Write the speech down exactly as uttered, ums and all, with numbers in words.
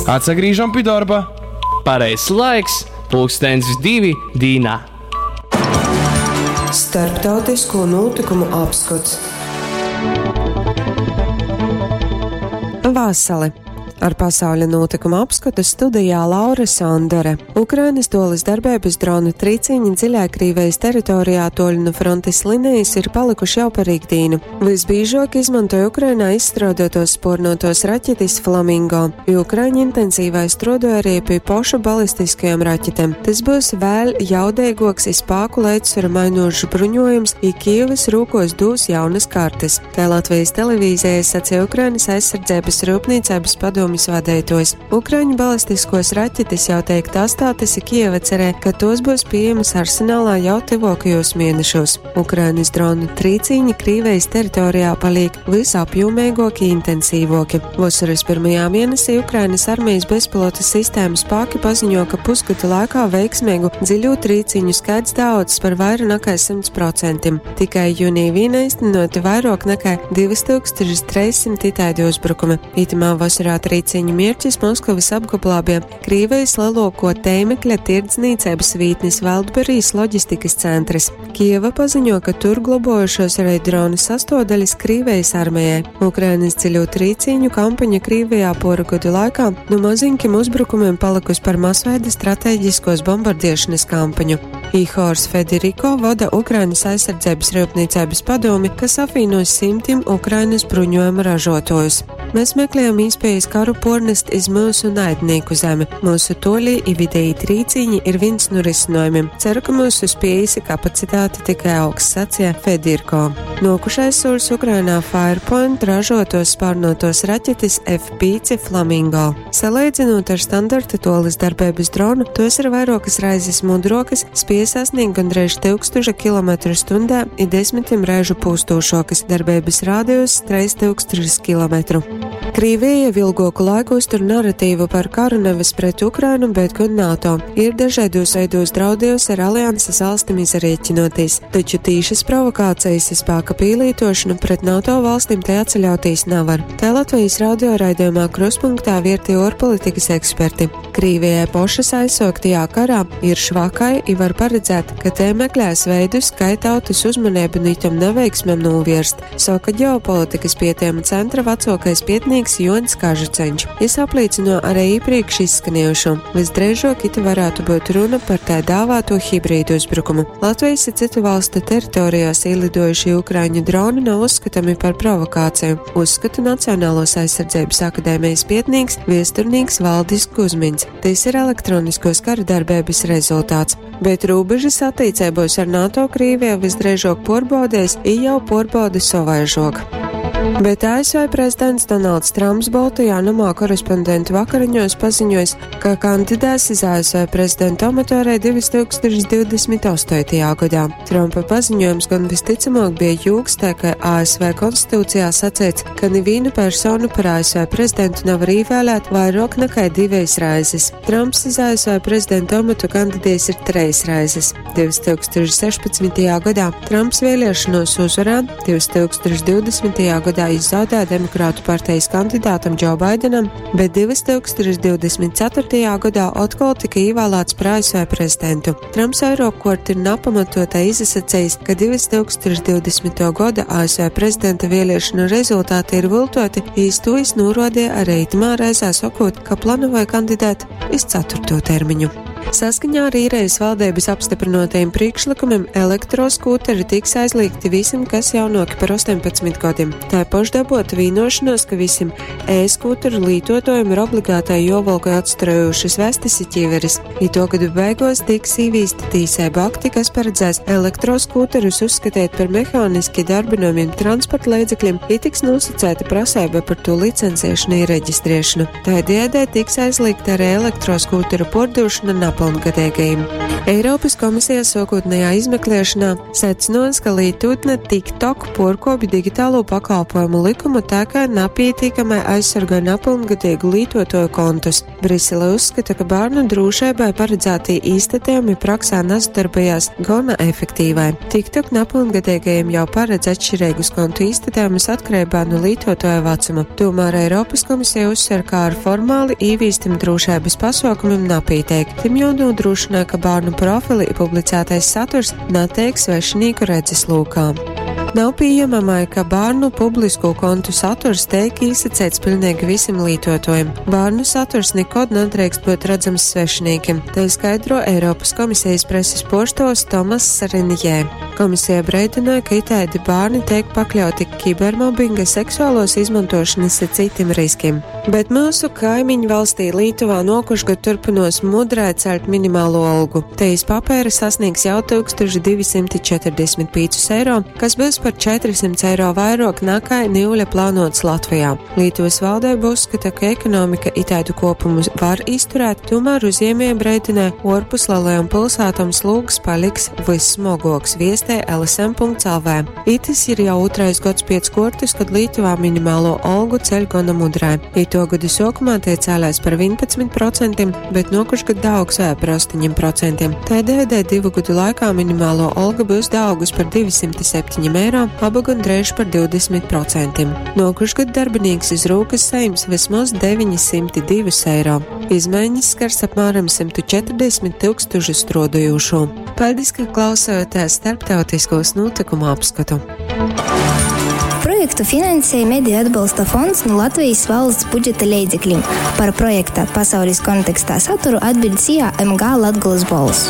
Atsagrīžam pi darba. Pareizs laiks, pulkstens divi dīnā. Starptautisko notikumu apskats. Vasali! Ar pasauļa notikumu apskatu studijā Laura Sondore. Ukrainas tolis darbības dronu trīciņi dziļā Krīvijas teritorijā toļu nu frontes linijas ir palikuši jau par ikdīnu. Visbiežāk izmantoja Ukrainā izstrādātos spornotos raķetes Flamingo, jo Ukraiņi intensīvai strodoja arī pie pošu balistiskajām raķetēm. Tas būs vēl jaudīgāks i spāku līdzsvaru mainošs bruņojums, i Kijevas rūkos dūs jaunas kartes. Kā Latvijas televīzijai sacīja Ukrainas aizsardzības rūpnīcības padomu padomjas vadītājs. Ukraiņu balistiskos raķetes jau tiek testētas, i Kijeva cerē, ka tos būs pieejamas arsenālā jau tuvākajos mēnešos. Ukrainas dronu trīcīņi Krīvijas teritorijā paliek visapjomīgāki, intensīvāki. Vasaras pirmajā mēnesī Ukrainas armijas bezpilota sistēmu spēki paziņo, ka pusgada laikā veiksmīgu dziļu trīciņu skaits daudz par vairāk nekā simts procentiem. Tikai jūnijā vien īstenoti vairāk nekā divas tūkstošus trešsimt itāļu uzbrukumi. Itamā vasarā trīciņu mērķis Maskavas apgabalā bija Krīvijas lielāko tēmekļa tirdzniecības vītnes Wildberries loģistikas centrs. Kieva paziņo, ka tur globojušos arī dronu sastāvdaļas Krīvijas armijai. Ukrainas dziļo trīciņu kampaņa Krīvijā poru gadu laikā no maziņkiem uzbrukumiem palikusi par masveida strateģiskos bombardiešanas kampaņu. Ihors Federiko vada Ukrainas aizsardzības rūpniecības padomi, kas apvieno simtiem Ukrainas bruņojuma ražotājus. Mēs meklējam iespējas karu pornest iz mūsu naidnieku zemi. Mūsu toļī i vidēji trīciņi ir viens no risinājumiem. Ceru, ka mūsu spējas i kapacitāte tikai augs, sacīja Fedirko. Nokušais solis Ukrainā Firepoint ražotos spārnotos raķetes F pieci Flamingo. Salīdzinot ar standarta tolis darbības dronu, tos ir vairākas raizes mudrokas, spēj sasniegt gandrīz tūkstoša kilometru stundā i desmitiem reižu pūstošokas, darbības radius trīs tūkstošus kilometru. Krīvija jau ilgāku laiku uztur naratīvu par karu nevis pret Ukrainu, bet gan NATO. Ir dažādos veidos draudējusi ar alianses valstīm izrēķinoties, taču tīšas provokācijas i spēka pīlītošanu pret NATO valstīm te atceļautīs nevar. Te Latvijas radio raidījumā Kruspunktā vierti ārpolitikas eksperti. Krīvijai pošas aizsāktajā karā ir švakai i var paredzēt, ka te meklēs veidus, kā tautas uzmanību no itam neveiksmēm novērst, saka ģeopolitikas pētījuma centra vecākais pētnieks Jonis Kažuceņš. Jis apliecino arī iepriekš izskanējušo. Visdrīzāk ite varētu būt runa par tā dāvāto hibrīdu uzbrukumu. Latvijas i citu valstu teritorijās ielidojušie ukraiņu droni nav uzskatāmi par provokāciju, uzskata Nacionālos aizsardzības akadēmijas pētnieks, viesturnīgs Valdis Kuzmins. Tas ir elektroniskos kara darbības rezultāts. Bet robežas attiecībos ar NATO Krīvija visdrīzāk porbaudēs, i jau porbauda savaižok. Bet A S V prezidents Donalds Trumps Baltajā namā korespondentu vakariņos paziņojis, ka kandidēs iz A S V prezidenta amatu arī divas tūkstošus divdesmit astotajā gadā. Trumpa paziņojums gan visticamāk bija jūks, tā kā A S V konstitūcijā sacīts, ka nevienu personu par A S V prezidentu nevar ievēlēt vairāk nekā divas reizes. Trumps iz A S V prezidenta amatu kandidējis ir treis reizes. divas tūkstošus sešpadsmitajā gadā Trumps vēlēšanos uzvarēja, divas tūkstošus divdesmitajā gadā izzaudēja Demokrātu partijas kandidātam Džo Baidenam, bet divas tūkstošus divdesmit ceturtajā gadā atkal tika ievēlēts par A S V prezidentu. Trumps vairākkārt ir nepamatotai izsacījis, ka divas tūkstošus divdesmito gada A S V prezidenta vēlēšanu rezultāti ir viltoti, īstojas norodīja arī itamā reizē sakot, ka plānoja kandidēt iz ceturto termiņu. Saskaņā ar īrijas valdības apstiprinotajiem priekšlikumiem elektroskūteri tiks aizliegti visiem, kas jaunāki par astoņpadsmit gadiem. Tā ir pašdabota vienošanos, ka visiem e-skūteru lietotājiem ir obligātai jovalk atstarojušas vestes i ķiveres. I to gadu beigās tiks īvīsti tīsēba akti, kas paredzēs elektroskūterus uzskatīt par mehāniski darbinājumiem transporta līdzekļiem, i tiks nosacēta prasība par to licencēšanu i reģistrēšanu. Tādējādi tiks aizliegta arī elektroskūteru pārdošana napylngadeigajim. Eiropys komisija suokūtnejā izmekliešonā secynuos, ka lītūtne TikTok puorkuopj digitalū pakalpojumu lykumu tā kai napītīkamai aizsorgoj napylngadeigu lītuotuoju kontus. Brisele uzskata, ka bārnu drūšeibai paradzātī īstatejumi praksē nasadarbojās gona efektīvai. TikTok napylngadeigajiem jau paredz atšķireigus kontu īstatejumus atkareibā nu lītuotuoja vacuma. Tomēr Eiropys komisija uzsver, ka ar formāli īvīstim drūšeibys pasuokumim napīteik. Tim juonūdrūšynoj, ka bārnu profili i publicātais saturs nateik svešinīku redzeslūkā. Nav pieņemamai, ka bārnu publisko kontu saturs teik īsaceits pilnīgi visiem lītuotojiem. Bārnu saturs nekod nedrīkst būt redzams svešinīkiem, te skaidro Eiropas komisijas preses puorstuovs Tomass Sarinjē. Komisija breidināja, ka itaidi bārni teik pakļauti kibermobinga, seksuālos izmantošanas i citim riskim. Bet mūsu kaimiņu valstī Lītuvā nokušgad turpinos mudrai celt minimālo algu. Te iz papēra sasniegs jau tūkstoš divi simti četrdesmit pīcus eiro, kas būs par četri simti eiro vairāk nekā niuļa plānots Latvijā. Lietuvas valdība uzskata, ka ekonomika itādu kopumu var izturēt, tomēr uzņēmēji breidinē, orpus lielajām pilsētām slūgs paliks vissmogoks, viestē L S M punkts L V. Itis ir jau otrais gads piec kuortys, kad Lietuvā minimālo algu ceļ gona mudrai. Ito gada sākumā tie cēlās par vienpadsmit procentiem, bet nokušgad daaugs vēl par astoņiem procentiem. Tādējādi divu gadu laikā minimālo alga būs daaugus par divi simti septiņi eiro, aba gandrīz par divdesmit procentiem. Nokušgad darbinīks iz rūkas saņems vismaz deviņi simti divi eiro. Izmaiņas skars apmēram simt četrdesmit tūkstošu strādājošo. Paldies, ka klausāties starptautiskos notikumu apskatu. Projektu finansēja Mediju atbalsta fonds no Latvijas valsts budžeta leidzekļiem. Par projekta pasaules kontekstā saturu atbild S I A M G Latgolas Bolss.